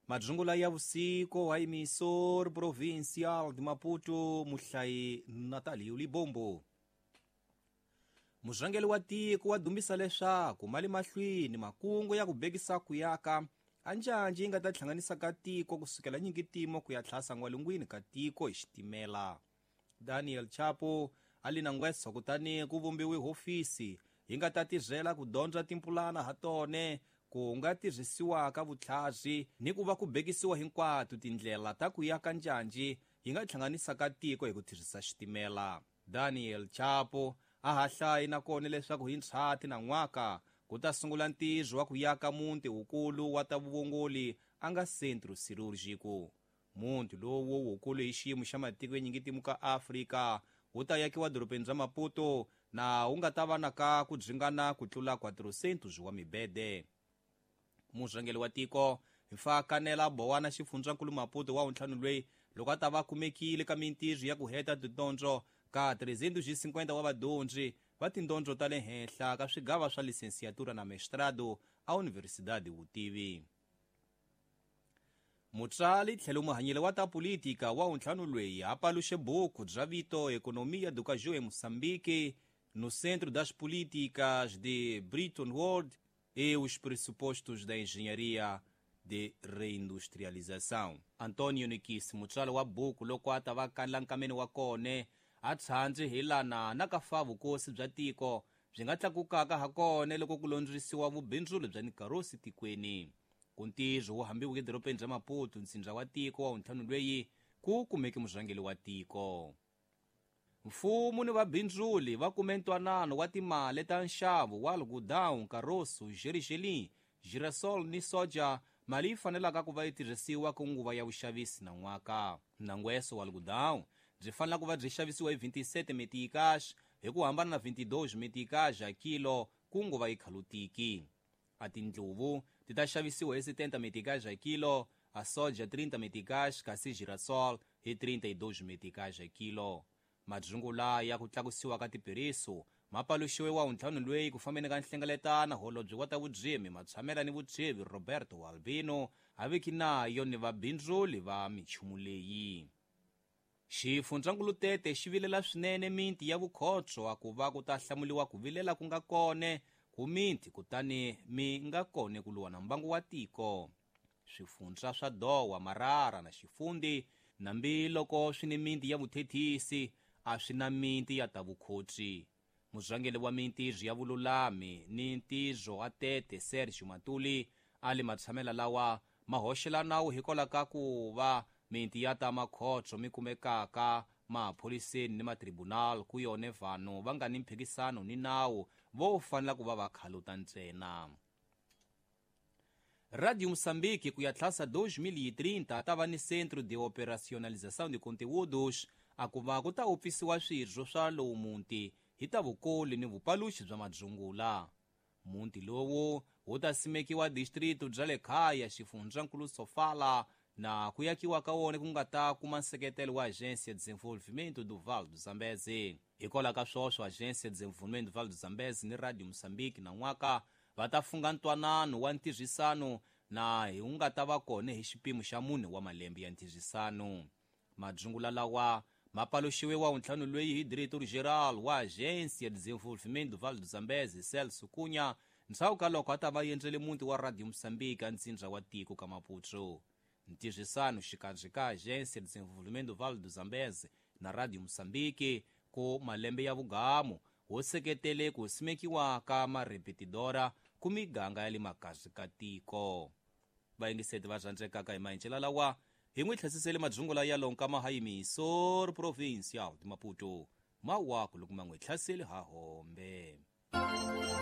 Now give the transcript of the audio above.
Madzungula ya vusiku wa emissor provincial de Maputo, muhlayi Natalio Libombo. Murhangeri wa tiko wa dumbisa leswaku mali mahlweni makungu ya ku bekisa ku yaka a njhanjhi yi nga ta hlanganisa ka tiko kusukela nyingitimo ku ya tlhasa n'walungwini ka tiko hi xitimela. Daniel Chapo a li na ngweso kutani ku vumbiwe hofisi yi nga ta tirhela ku dyondza timpulana ha tone ku nga tirhisiwaka vutlhari ni ku va ku bekisiwa hinkwato tindlela ta ku yaka njhanjhi yi nga hlanganisaka tiko hi ku tirhisa xitimela. Daniel Chapo a ha hlayi nakona leswaku hi ndzhati na n'waka ku ta sungula ntirho wa ku yaka muti wukulu wa ta vuongoli a nga Centro Cirúrgico. Muti lowu wukulu hi xiyimo xa matiko ya nyingitimu ka Afrika wu ta yakiwa dorobeni ra Maputo na wu nga ta va na ka ku dzingana ku tlula 400 wa mibede. Murhangeri wa tiko mfa kanela bowana xifundzankulu Maputo wa wuntlhanu lweyi loko a ta va kumekile ka mintirho ya ku heta tidyondzo ka 350 wa vadyondzi va tindyondzo ta le henhla ka swigava swa licenciatura na mestrado a Universidade Vutivi. Mutsali tlhelo muhanyeli wa ta politika wa wuntlhanu lweyi a paluxe buku bya vito Economia do Caju em Moçambique no Centro das Políticas de Bretton Woods e os pressupostos da engenharia de reindustrialização. Antonio Nikisi mutswari wa buku loko a ta va kanela nkameni wa kone a tshandzi hi lana na ka fa vukosi bya tiko byi nga tlakukaka ha kone loko ku londzisiwa vubindzulo bya nikarosi tikweni. Ku ntirho wu hambiweke edorobeni ra Maputo ntsindza wa tiko wa wuntlhanu lweyi ku kumeke murhangeri wa tiko. Mfumo ni vabindzuli va kume ntwanano wa timali ta nxavo wa algodão, caroço, gergelim, girassol ni soja, mali yi fanelaka ku va yi tirhisiwa ku nguva ya vuxavisi na n'waka. Nangweso wa algodão byi fanela ku va byi xavisiwa hi 27 meticais hi ku hambana na 22 meticais a kilo ku nguva yi khalutiki. A tindluvu ti ta xavisiwa hi 70 meticais a kilo, a soja 30 meticais kasi girassol hi 32 meticais a kilo. Madzungula ya ku tlakusiwa ka tipiriso ma paluxiwe wa wuntlhanu lweyi ku fambeni ka nhlengeletano holobye wa ta vudzimi matshamela ni vutsheve Roberto Albino a veki nayo ni vabindzuli va michumu leyi. Xifundzankulu Tete xi vilela swinene miti ya vukhotso a ku va ku ta hlamuliwa ku vilela ku nga kone ku miti kutani mi nga kone ku luwa na mbangu wa tiko. Swifundza swa Dowa, Marara na Xifundi nambi loko swi ni miti ya vuthethisi a swi na miti ya ta vukhotsi. Murhangeri wa mintirho ya vululami ni ntirho wa Tete Sergio Matuli a li matshamela lawa ma hoxela nawu hikwalaho ka ku va miti ya ta makhotso mi kumekaka maphoriseni ni matribunal ku yone vanhu va nga ni mphikisano ni nawu vo fanela ku va va khaluta ntsena. Radio Moçambique ku ya tlhasa 2030 ta va ni Centro de Operacionalização de Conteúdos a ku va ku ta upfisiwa swirho swa lowu muti hi ta vukoli ni vupaluxi bya madzungula. Muti lowu wu ta simekiwa distrito bya le kaya xifundzankulu Sofala na ku yakiwa ka wona ku nga ta kuma nseketelo wa Agência de Desenvolvimento do Vale do Zambeze. Hikwalaho ka swoswo Agência de Desenvolvimento do Vale do Zambeze ni Radio Moçambique na n'waka va ta funga ntwanano wa ntirhisano na hi wu nga ta va kona hi xipimo xa mune wa malembe ya ntirhisano. Madzungula lawa ma paluxiwe wa wuntlhanu lweyi hi diretor geral wa Agência de Desenvolvimento do Vale do Zambeze Celso Cunha ndzhaku ka loko a ta va endzele muti wa Radio Moçambique a ntsindza wa tiko ka Maputo. Ntirhisano xikarhi ka Agência de Desenvolvimento do Vale do Zambeze na Radio Moçambique ku malembe ya vugamu wo seketele ku simekiwa ka marepetidora ku miganga ya le makasi ka tiko. Vayingiseti va rhandzekaka hi mahencela lawa hi n'wi tlhesisele madzungula ya lonka mahayimisor provincial de Maputo mawaku loko ma n'wi tlhaseli ha hombe.